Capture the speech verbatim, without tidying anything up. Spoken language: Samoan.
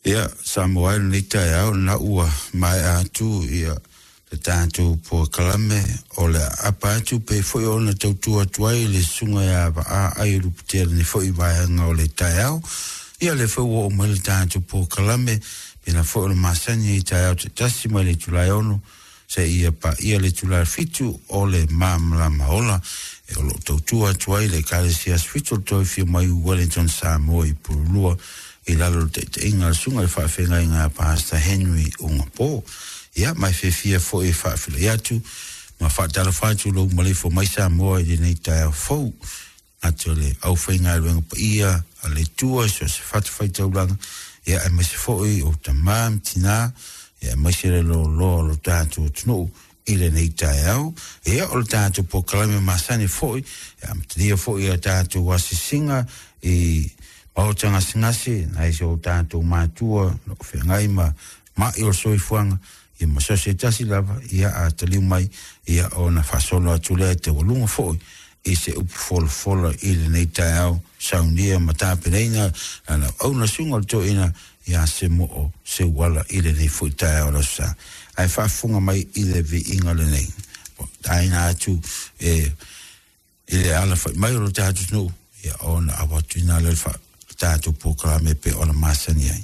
Ia, Samoa e lenei taeao lena ua maea atu ia le tatou polokalame o le aapa atu pei foi ona tautua atu ai le susuga ia Vaa Aiolupotea i lenei foi vaega o le taeao. Ia lea foi ua oo mai le tatou polokalame pena foi o le masani i taeao taitasi mai le itula e ono seia paia le itula e fitu o le malamalama ola e o loo tautua atu ai le Ekalesia Aso Fitu o le Toe Afio Mai Wellington Samoa i Pululua i lalo o le taitaiga a le susuga i le faafeagaiga a Pastor Henry Ugapo. Ia, ma e fiafia foi e faafeiloai atu ma faatalofa atu lou maleifua mai Samoa i lenei taeao fou atu o le aufaigaluega paia a le Atua i so o se fatafaitaulaga, ia aemaise foi o tamā ma tinā, ia aemaise le loaloa o lo tatou atunuu i lenei taeao. Ia o le tatou polokalame masani foi e amatalia foi ia tatou asiasiga i maota gasegase nai so tatou matua o lo o feagai ma mai o le soifuaga, ia ma so o se tasi lava. Ia a taliu mai, ia ona faasolo atu lea e taualuga foi i se upu folafola i lenei taeao saunia ma tapenaina lana auauna susuga o le toeaina ia Semoo Seuala i lenei foi taeao o le aso Sa. Ae faafofoga mai i le viiga lenei taina atu e i le alafai mai o lo tatou atunuu, ia ona avatuina lea le fa tatou polokalame pe ona masani ai.